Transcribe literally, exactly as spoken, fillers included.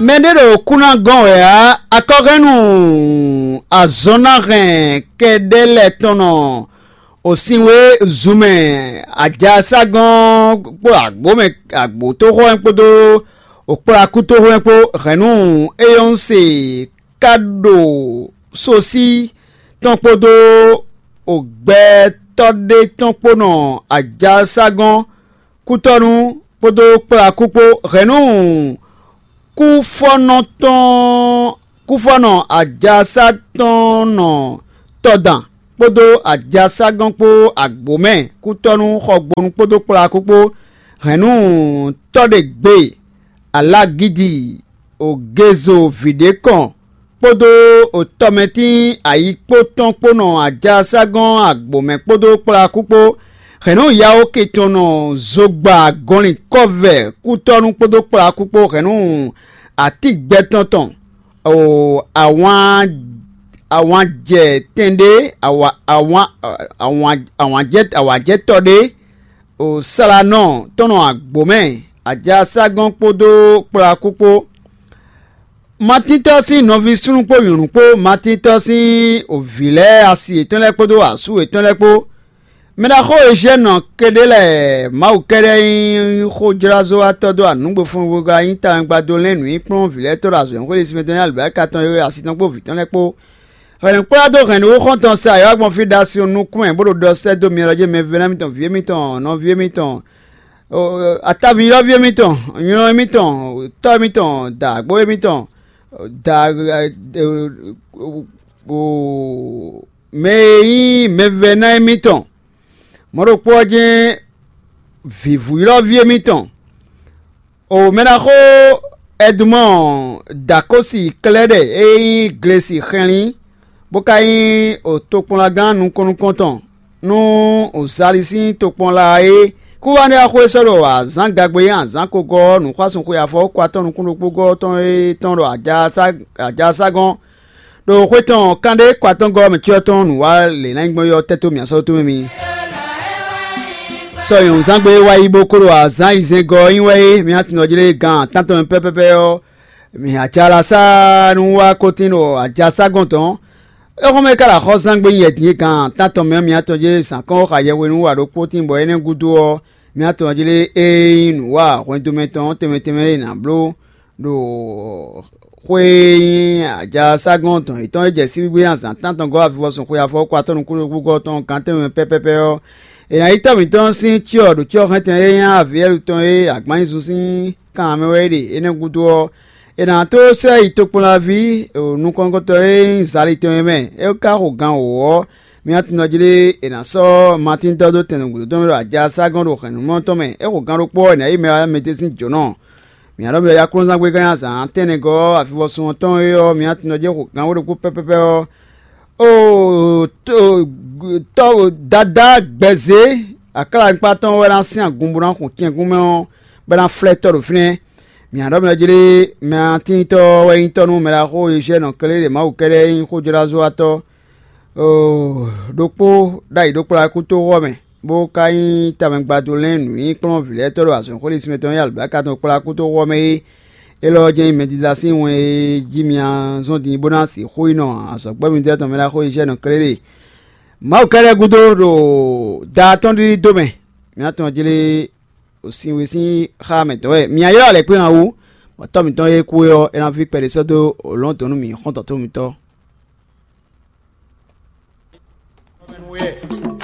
Mɛ ɖé ɖo kú ná gɔ́n wɛ ǎ. Akɔhɛ́nnu azɔn ná hɛn kɛɖɛ́ lɛ́ɛ tɔn nɔ òsinwé zumɛ ajaságɔ́n kpó agbǒmɛ agbǒtóxɔ́ kpódó òkplakútóxɔ́ kpó hɛ̌nnu éyɔ́nse ká ɖo sosí tɔn kpódó ògbɛtɔ́ ɖé tɔn kpó nɔ ajaságɔ́n kútɔ́nú kpódó kplakú kpó hɛ̌nnu kúfɔ́nɔ tɔn kúfɔ́nɔ ajasá tɔn nɔ tɔdan kpódó ajaságɔ́n kpó agbǒmɛ kútɔ́nú xɔgbónú kpódó kplakú kpó hɛ̌nnu tɔ́ ɖe gbe alagidi ogezo vǐɖé kɔn kpódó otɔmɛtín ayikpó tɔn kpó nɔ ajaságɔ́n agbǒmɛ kpódó kplakú kpó hɛ̌nnu yawo ke tɔn nɔ zogba gɔnlin kɔ́vɛ kútɔ́nú kpódó kplakú kpó hɛ̌nnu atígbɛtɔn tɔn o awǎn awǎnjɛ tɛn ɖé awa awǎn awǎn awǎnjɛ awǎnjɛtɔ́ ɖé o slanɔ tɔn nɔ agbǒmɛ ajaságɔ́n kpódó kplakú kpó. Matíntɔ́ sín nɔví súnnu kpó nyɔ̌nu kpó Matíntɔ́ sín vǐ lɛ́ɛ asi yětɔn lɛ́ɛ kpódó asú yětɔn lɛ́ɛ kpó. Mɛ ɖaxó Eziyɛ́nɔ Keɖélɛ Mawu kɛ́ɖɛ́ nyí xójlázɔ́watɔ́ dó anǔgbefɔnwegɔ́ nyí tawɛngbadó lɛ́n nǔnyinkplɔ́n vǐ lɛ́ɛ tɔn ɖo azɔ̌ e xwé ɖésú mɛ tɔn nyí alibǎka tɔn e asi tɔn kpó vǐ tɔn lɛ́ɛ kpó. Hwɛ̌nnu kplá dó hɛ̌nnu xɔ́ntɔn sa yɔ̌yɔ́ gbɔn fí ɖo asi ɔ́ nukún mɛ bó ɖo ɖɔ sɛ́ dó myɔ lɔ jí mɛvɛ́ná mitɔn, vǐ émítɔn, nɔví émítɔn, ataví ylɔ́ví émítɔn, nylɔ́ émítɔn, tɔ́ émítɔn, dǎgbó émítɔn, da mɛ e nyí mɛvɛ́ná émítɔn, mɔ̌ ɖokpó ɔ́ jɛ́n vǐvú ylɔ́ví émítɔn. O mɛ ɖaxó Ɛdumɔ́ɔ Dakósi Klɛ́ɖɛ e nyí Glesi xɛnlin, bó ka nyí tokpɔnlagán nukɔn nukɔntɔn nú Zali sín tokpɔnla é. Kúvánú e axó e sɔ́ ɖo azǎn gagbe e nyí azǎn kogɔ́ ɔ́ nǔxwásún xwe afɔ kó atɔ́ nukún ɖokpó gɔ́ tɔn é tɔn ɖo ajaságɔ́n ɖo xwé tɔn kanɖé kó atɔ́ngɔ́ mɛ cyɔ tɔn nǔ wa lě ná nyí gbɔn ɔ́ tɛ́ tó mǐ asɔ́ tó mɛ mi. Sɔ nyɔ̌nzán gbe e wá yi bó kó ɖo azǎn yizɛ́ngɔ́ ɔ́ nyi wɛ é, mǐ tunwun ɔ́ jlé gan tántɔn mɛ pɛ́pɛ́pɛ́ ɔ́, mǐ ajalasa nú wá kótín ɖo ajaságɔn tɔn. Éxɔ́mɛ ka ɖo axɔ́súzángbe nyɛ din e gan tántɔn mɛ ɔ́, mǐ tɔn jlé zǎn kɔn xá yɛhwenu wa ɖokpó tín bɔ énɛ́ gúdo ɔ́, mǐ tɔn jlé ée nyí nǔ wa hwɛndo mɛ tɔn tɛnmɛ tɛnmɛ e è nǎ bló ɖo xwé e nyí ajaságɔ́n dɔn yětɔn e jɛ síbígbé azǎn tántɔn gɔ́ avivɔsun xwe afɔwɔ́kɔ atɔ́ nukúnɖókúgɔ́ tɔn gán tɛnmɛ pɛ́pɛ́pɛ́ ɔ́, è nǎ yí tɔ́ mǐtɔn sín cyɔ ɖo cyɔ hɛntɛn e nyí avǐɛ́lu tɔn e agbǎnnyízun sín kan mɛ wɛ é ɖe. Énɛ́ gúdo ɔ́, è nǎ tó sɛ́ yi tokpɔnlaví nukɔntɔn e nyí Zali tɔn é mɛ. É ka xo gan wǒ ɔ́, mǐ tunwun jí ɖé è nǎ sɔ́ Matín dɔ́ dó tɛn nǔgbó tɔn mɛ ɖo ajaságɔ́n ɖo hɛ̌nnumɔ tɔn mɛ. É xo gan ɖokpó ɔ́, è nǎ yí mɛ wá mɛ tɛ́ sín jǒnɔ. Mǐ ɖɔ mǐ ɖɔ yákúnúzángbe gán nyi azǎn tɛ́nnɛgɔ́ ɔ́, avivɔsun ɔ́ tɔn é ɔ́, mǐ tunwun jí xo gan wó ɖokpó pɛ́pɛ́pɛ́ ɔ́, oo tɔ́ dadá gbɛzě aklanyikpa tɔn wɛ ná sín agun bó ná xun tɛ́nkún mɛ ɔ́, bɔ é ná flɛ́ tɔ́ ɖo fínɛ́. Mǐ ɖɔ mǐ ɖɔ jí ɖé mɛ atíntɔ́ wɛ nyí tɔ́ nú mɛ ɖaxó Eziyɛ́nɔ Klɛ́ɖɛ Mawu kɛ́ɖɛ́ nyí xójlázɔ́watɔ́ ɖokpó ɖ'ayǐ ɖokpó ɖo akútoxɔ mɛ, bó ka nyí tamɛgbadó lɛ́n nǔnyinkplɔ́n vǐ lɛ́ɛ tɔ́ ɖo azɔ̌xwé ɖésú mɛ tɔn e alibǎka tɔn kplá akútoxɔ mɛ é. Élɔ́ ɔ́ jɛ́n nyí mɛdídá sín wɛn e jí mi zɔ́n din bó ná sixú yi nɔ azɔ̌gbɛ́ mitɔ́ tɔn mɛ ɖaxó Eziyɛ́nɔ Klɛ́ɖɛ. Mawu kɛ́ɖɛ́ gúdo ɖo da tɔn ɖiɖi dó mɛ. Mǐ tunwun jí lé sinwe sín xá mɛ tɔn wɛ mǐ ylɔ́ alɛ̌kpé han wú, bɔ tɔ́ mǐtɔn e kú é ɔ́, é ná ví kpɛɖé sɔ́ dó lɔ̌n dɔ̌n nú mǐ xɔ́ntɔn tó mitɔ́.